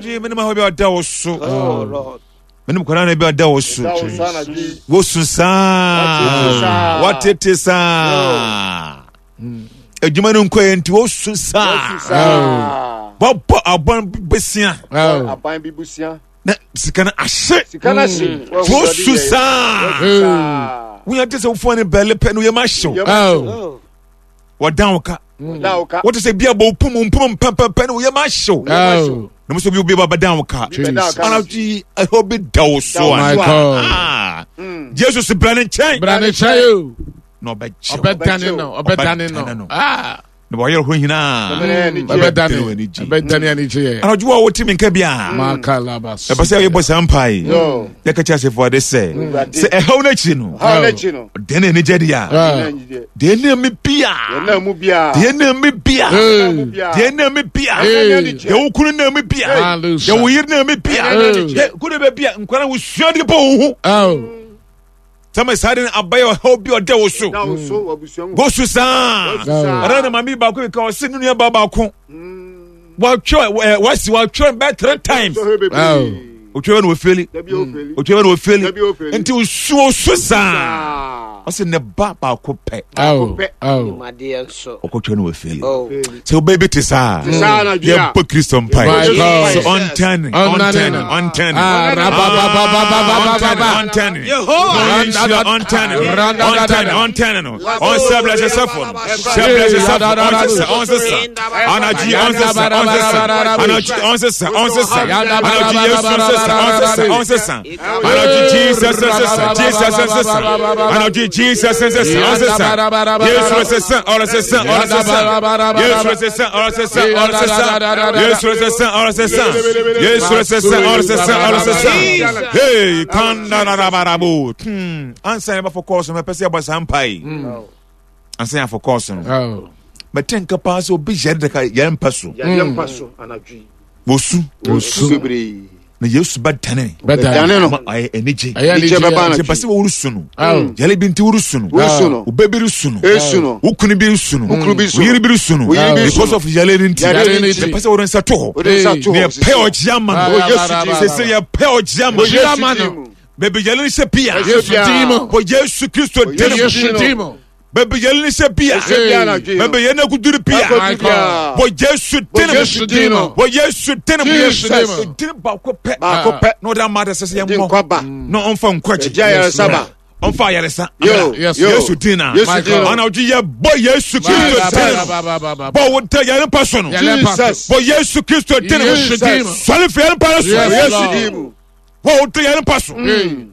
Anadwo menim ahɔ bi a ɔda wo so. Oh Lord. Menim kwadaa na bi a ɔda wo so. Da wo so anadwo yi. Wosu saa. saa. Watete saa. Adwuma no nkɔ yɛ nti wosu saa. Wosu saa. Wɔbɔ abɔn besia Oh. Aban bi busia. na sika no ahye. Sika no ahye. Wosu saa. Saa. Wonya te sɛ wofoɔ ne bɛle pɛ no yɛ ma hyew. Yɛ ma hyew. Oh. Wɔdan wo ka. Da wo ka. Wote sɛ bi abɔ wo pum mpum mpɛmpɛmpɛ no yɛ ma hyew. Oh. Na mo sɛ bi obi ba bɛdan wo ka. Bi bɛda wo ka. Anadwo yi ɛhɔ bi da wo so Da My a. God. Ah. Jesus bra ne nkyɛn. Bra ne nkyɛn o. Na ɔbɛgye wo. Ɔbɛdane no. Ɔbɛdane Ɔbɛdane no. no. Ah. Na wɔyɛ hɔ nyinaa. Ɔbɛdane. Ɔbɛdane anigye. Ɔbɛdane anigye. Anadwo a wote me nka bi a. Makalabas. Ɛpɛ sɛ yɛbɔ saa mpae. Yo. Yɛka kyerɛ asefo ade sɛ Awurade. sɛ ɛhaw no akyiri no Haw n'akyi no. deɛ na anigye deɛ a Ah. deɛ na me bia Yɛn mu biara. deɛ na me bia Hey. mu biara. deɛ na me bia Hey. deɛ wo kunu na me bia Hallelujah. deɛ wo yere na me bia Hey. deɛ kunu bɛ bia nkwadaa wo sua de bɔ wo ho Oh. sɛmɛ saa de no abayɛ ɔhaw bi ɔda wo so Da wo so wɔ abusua mu. gosu saa Wosu saa. ɔda na maame baako bi ka ɔse ne nua ba baako watwerɛ ɛ wasi watwerɛ bɛɛ three times Sɔhwɛ bebree. Oh. otwerɛ na ofeli Dabi ofeli. otwerɛ na ofeli Dabi ofeli. nti osu osu saa Saa. ɔse ne ba baako pɛ Oh. pɛ. Oh. Nimadeɛ nso. ɔkɔtwerɛ na ofeli Oh. sɛ wobɛyɛ bi te saa Te saa anadwo yi a. yɛbɔ kristo mpae My God. sɛ ɔntɛne Ɔnnane ɔntɛne no. ɔntɛne Ah, rabababababababa. ɔntɛne Yehowa. ɔnhyira ɔntɛne ɔntɛne ɔntɛne no ɔnsɛ blɛsɛ sɛfo no sɛ blɛsɛ sɛfo ɔnsesa ɔnsesa anadwo ɔnsesa ɔnsesa anadwo ɔnsesa ɔnsesa anadwo yesu ɔnsesa ɔnsesa ɔnsesa anadwo jesus ɔnsesa jesus ɔnsesa anadwo jesus ɔnsesa ɔnsesa yesu ɔnsesa ɔnsesa ɔnsesa yesu ɔnsesa ɔnsesa ɔnsesa yesu ɔnsesa ɔnsesa yesu ɔnsesa ɔnsesa ɔnsesa hey kandarabarabo ansa yɛbɛfɔ kɔɔso no mɛpɛ sɛ yɛbɔ saa mpae ansa yɛafɔ kɔɔso no Oh. mɛte nka paa sɛ obi yɛre daka yɛre mpa so Yadeɛ mpa so anadwo yi. wɔsu Osu bebree. na yesu bɛdane Bɛdane. Dane no. ma ayɛ anigye Ɛyɛ Anigye anigye. bɛba nti anadwo pɛ sɛ wɔresu no Oh. yɛre bi nti woresu no Wosu no. wo ba bi resu no Esu no. wo kunu bi resu no Wo kunu bi wo su no. yere bi resu no Wo yere bi resu because no. of yɛre no nti Yare no nti. yɛpɛ sɛ wode nsa to hɔ Wode nsa to na hɔ. yɛpɛ ɔgye ama no Wɔ Yesu din sɛ sɛ yɛpɛ ɔgye ama Wɔ no Yesu ama din no. mu. baabi yɛre no hyɛ pia Yesu din mu. wɔ Yesu Kristo din mu Yesu din mu. baabi yɛre no hyɛ pia Ɛhyɛ biara anadwo yi no. baabi yɛre no akuduru pia Akɔdu biara. wɔ Yesu din mu Yesu din mu. wɔ Yesu din mu Yesu din mu. din baako pɛ Baako pɛ. na ɔde ama de sɛ sɛ Ɛde yɛmmɔ nkwa ba. na ɔmfa nkwagye Ɛgye ayaresa ba. ɔmfa ayaresa Yo. Yes. Yo. Yesu din na Yesu din no. ɔna ɔgye yɛ bɔ Yesu Kristo din no Ba bɔ wo da yɛre mpa so no Yɛre mpa so. Jesus. bɔ Yesu Kristo din no Yesu din mu. sɔre fi yɛre mpa no so Yes, Yesu Lord. din mu. bɔ wo da yɛre mpa so Hey.